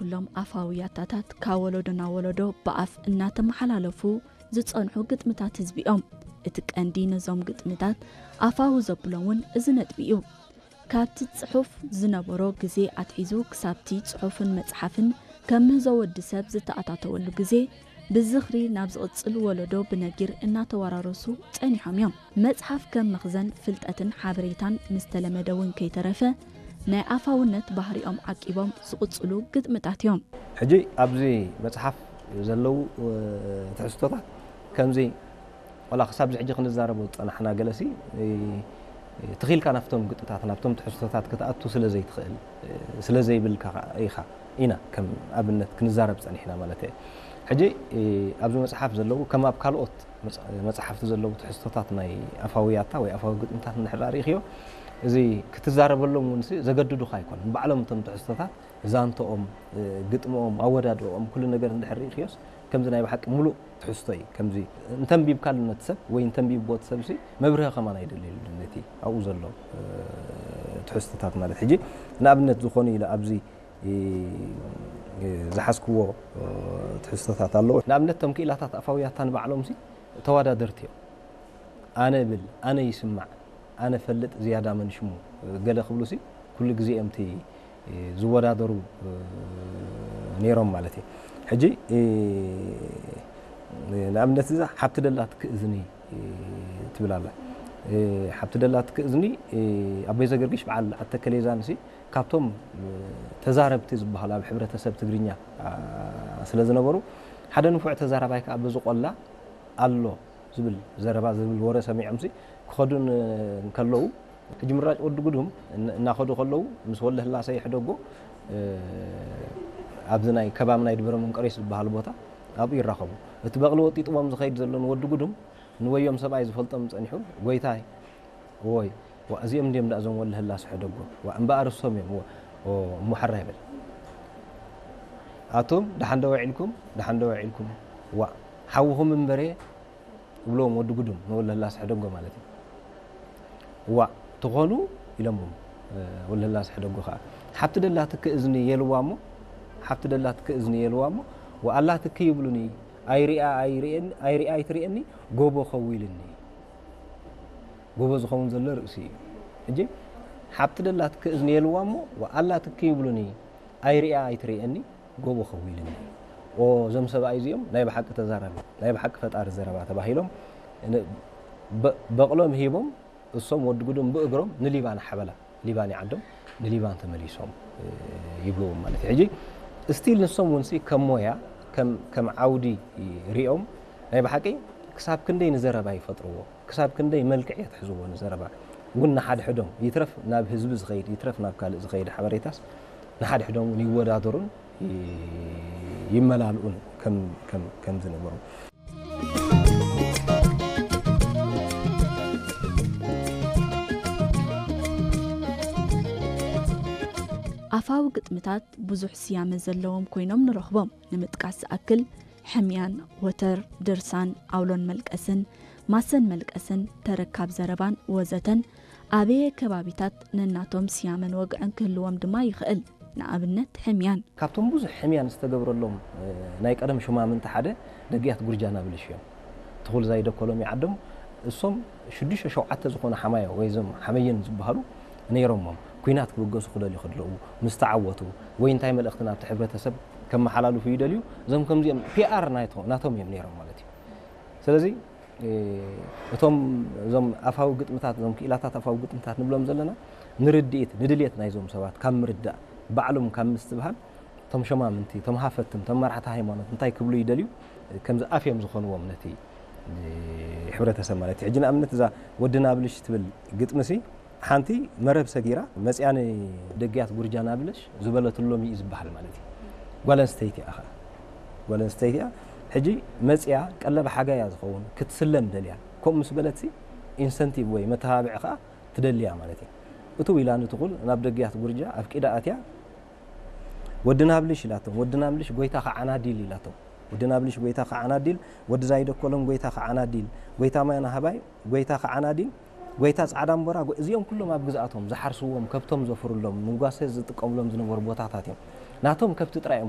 ኩሎም ኣፋዊ ያታታት ካብ ወለዶ ናብ ወለዶ ብኣፍ እናተመሓላለፉ ዝጸንሑ ግጥምታት ህዝቢ እዮም። እቲ ቀንዲ ነዞም ግጥምታት ኣፋዊ ዘብሎም እውን እዚ ነጥቢ እዩ። ካብቲ ጽሑፍ ዝነበሮ ግዜ ኣትሒዙ ክሳብቲ ጽሑፍን መጽሓፍን ከም ምህዞ ወዲ ሰብ ዝተኣታተወሉ ግዜ ብዝኽሪ ናብ ዝቕጽል ወለዶ ብነጊር እናተወራረሱ ጸኒሖም እዮም። መጽሓፍ ከም መኽዘን ፍልጠትን ሓበሬታን ምስተለመደ እውን ከይተረፈ ናይ ኣፋውነት ባህሪኦም ዓቂቦም ዝቕጽሉ ግጥምታት እዮም። ሕጂ ኣብዚ መጽሓፍ ዘለዉ ትሕዝቶታት ከምዚ ዋላ ክሳብ ሕጂ ክንዛረቦ ዝጸናሕና ገለሲ ትኺልካ ናብቶም ግጥታት ናብቶም ትሕዝቶታት ክትኣቱ ስለ ዘይትኽእል ስለ ዘይብልካ ኢኻ ኢና ከም ኣብነት ክንዛረብ ጸኒሕና ማለት እየ። ሕጂ ኣብዚ መጽሓፍ ዘለዉ ከም ኣብ ካልኦት መጽሓፍቲ ዘለዉ ትሕዝቶታት ናይ ኣፋዊ ያታ ወይ ኣፋዊ ግጥምታት እንድሕር ርኢኽዮ እዚ ክትዛረበሎም እውን ዘገድዱኻ ኣይኮኑን። ባዕሎም እቶም ትሕዝቶታት ዛንተኦም ግጥምኦም ኣወዳድኦም ኩሉ ነገር እንድሕር ርኢኽዮስ ከምዚ ናይ ብሓቂ ሙሉእ ትሕዝቶ እዩ። ከምዚ እንተንቢብካሉ ነቲ ሰብ ወይ እንተንቢብዎ እቲ ሰብ ሲ መብርሂ ከማን ኣይደልየሉ ነቲ ኣብኡ ዘሎ ትሕዝቶታት ማለት ሕጂ ንኣብነት ዝኾኑ ኢለ ኣብዚ ዝሓዝክዎ ትሕዝቶታት ኣለዎ። ንኣብነት እቶም ክኢላታት ኣፋውያታ ንባዕሎም ሲ ተወዳደርቲ እዮም። ኣነ ብል ኣነ ይስማዕ ኣነ ፈልጥ ዝያዳ መን ሽሙ ገለ ክብሉ ሲ ኩሉ ግዜ እዮም እቲ ዝወዳደሩ ነይሮም ማለት እዩ። ሕጂ ንኣብነት እዛ ሓብቲ ደላ ትክእዝኒ ትብል ኣላ። ሓብቲ ደላ ትክእዝኒ ኣቦይ ዘገርግሽ በዓል ኣተከሌዛን ሲ ካብቶም ተዛረብቲ ዝበሃሉ ኣብ ሕብረተሰብ ትግርኛ ስለ ዝነበሩ ሓደ ንፉዕ ተዛራባይ ከዓ በዚ ቆላ ኣሎ ዝብል ዘረባ ዝብል ወረ ሰሚዖም ሲ ክኸዱ እንከለዉ ሕጂ ምራጭ ወዲ ጉዱም እናኸዱ ከለዉ ምስ ወለ ህላሰ ይሕደጎ ኣብዚ ናይ ከባቢ ናይ ድበረ መንቀሬስ ዝበሃል ቦታ ኣብኡ ይራኸቡ። እቲ በቕሊ ወጢጥዎም ዝኸይድ ዘሎ ንወዲ ጉዱም ንወዮም ሰብኣይ ዝፈልጦም ጸኒሑ ጎይታይ እዎይ እዚኦም እንዲም ዳእዞም ወለ ህላሰ ሕደጎ እምበኣር እሶም እዮም እሞ ሓራ ይበል ኣቶም ደሓን ዶ ውዒልኩም ደሓን ዶ ውዒልኩም ዋ ሓውኹም እምበሬ ይብልዎም ወዲ ጉዱም ንወለላ ስሕደጎ ማለት እዩ። ዋእ ትኾኑ ኢሎምዎም ወለላ ስሕደጎ ከዓ ሓብቲ ደላ ትክ እዝኒ የልዋ እሞ ሓብቲ ደላ ትክ እዝኒ የልዋ እሞ ወኣላ ትክ ይብሉኒ ኣይሪኣ ኣይሪኣ ኣይትሪእኒ ጎቦ ኸው ኢልኒ። ጎቦ ዝኸውን ዘሎ ርእሲ እዩ። ሕጂ ሓብቲ ደላ ትክ እዝኒ የልዋ እሞ ወኣላ ትክ ይብሉኒ ኣይሪኣ ኣይትሪእኒ ጎቦ ኸዊልኒ። ኦ እዞም ሰብኣይ እዚኦም ናይ ብሓቂ ተዛራቢ ናይ ብሓቂ ፈጣሪ ዘረባ ተባሂሎም በቕሎም ሂቦም እሶም ወዲ ጉዶም ብእግሮም ንሊባን ሓበላ ሊባን ይዓዶም ንሊባን ተመሊሶም ይብልዎም ማለት እዩ። ሕጂ ስቲል ንሶም እውን ከም ሞያ ከም ዓውዲ ሪኦም ናይ ብሓቂ ክሳብ ክንደይ ንዘረባ ይፈጥርዎ ክሳብ ክንደይ መልክዕ የትሕዝዎ ንዘረባ እውን ንሓድሕዶም ይትረፍ ናብ ህዝቢ ዝኸይድ ይትረፍ ናብ ካልእ ዝኸይድ ሓበሬታስ ንሓድሕዶም እውን ይወዳደሩን ይመላልኡን ከም ዝነበሩ። ኣፋዊ ግጥምታት ብዙሕ ስያመ ዘለዎም ኮይኖም ንረኽቦም። ንምጥቃስ ዝኣክል ሕምያን፣ ወተር፣ ድርሳን፣ ኣውሎን መልቀስን፣ ማሰን መልቀስን፣ ተረካብ ዘረባን ወዘተን ኣበየ ከባቢታት ነናቶም ስያመን ወግዕን ክህልዎም ድማ ይኽእል። ንኣብነት ሕምያን። ካብቶም ብዙሕ ሕምያን ዝተገብረሎም ናይ ቀደም ሹማምንቲ ሓደ ደግያት ጉርጃ ናብልሽ እዮም። ትኹል ዛይደኮሎም ይዓዶም እሶም ሽዱሽተ ሸውዓተ ዝኾነ ሓማዮ ወይ ዞም ሓመየን ዝበሃሉ ነይሮሞም ኩናት ክብገሱ ክደልዩ ከለዉ ምስ ተዓወቱ ወይ እንታይ መልእኽቲ ናብቲ ሕብረተሰብ ከመሓላልፉ ይደልዩ እዞም ከምዚኦም ፒኣር ናቶም እዮም ነይሮም ማለት እዩ። ስለዚ እቶም እዞም ኣፋዊ ግጥምታት እዞም ክኢላታት ኣፋዊ ግጥምታት ንብሎም ዘለና ንርድኢት ንድልየት ናይዞም ሰባት ካብ ምርዳእ ባዕሎም ካብ ምስትብሃል እቶም ሸማምንቲ እቶም ሃፈትም እቶም መራሕቲ ሃይማኖት እንታይ ክብሉ ይደልዩ ከምዚ ኣፍ እዮም ዝኾንዎም ነቲ ሕብረተሰብ ማለት እዩ። ሕጂ ንኣብነት እዛ ወዲ ናብልሽ ትብል ግጥምሲ ሓንቲ መረብ ሰጊራ መፅያ ንደግያት ጉርጃ ናብለሽ ዝበለትሎም እዩ ዝበሃል ማለት እዩ። ጓል ኣንስተይቲ እያ ኸዓ ጓል ኣንስተይቲ እያ። ሕጂ መፅያ ቀለብ ሓጋያ ዝኸውን ክትስለም ደልያ ከምኡ ምስ በለትሲ ኢንሰንቲቭ ወይ መተባብዒ ኸዓ ትደልያ ማለት እዩ። እትው ኢላ ንትኹል ናብ ደግያት ጉርጃ ኣብ ቂዳ ኣትያ ወዲ ናብልሽ ኢላቶም ወዲ ናብልሽ ጎይታ ኸዓናዲል ኢላቶም ወዲ ናብልሽ ጎይታ ኸዓናዲል ወዲ ዛይደኮሎም ጎይታ ኸዓናዲል ጎይታ ማይ ናሃባይ ጎይታ ኸዓናዲል ጎይታ ጻዕዳ እምቦራ እዚኦም ኩሎም ኣብ ግዝኣቶም ዝሓርስዎም ከብቶም ዘፍርሎም ንጓሰ ዝጥቀምሎም ዝነበሩ ቦታታት እዮም። ናቶም ከብቲ ጥራይ እዮም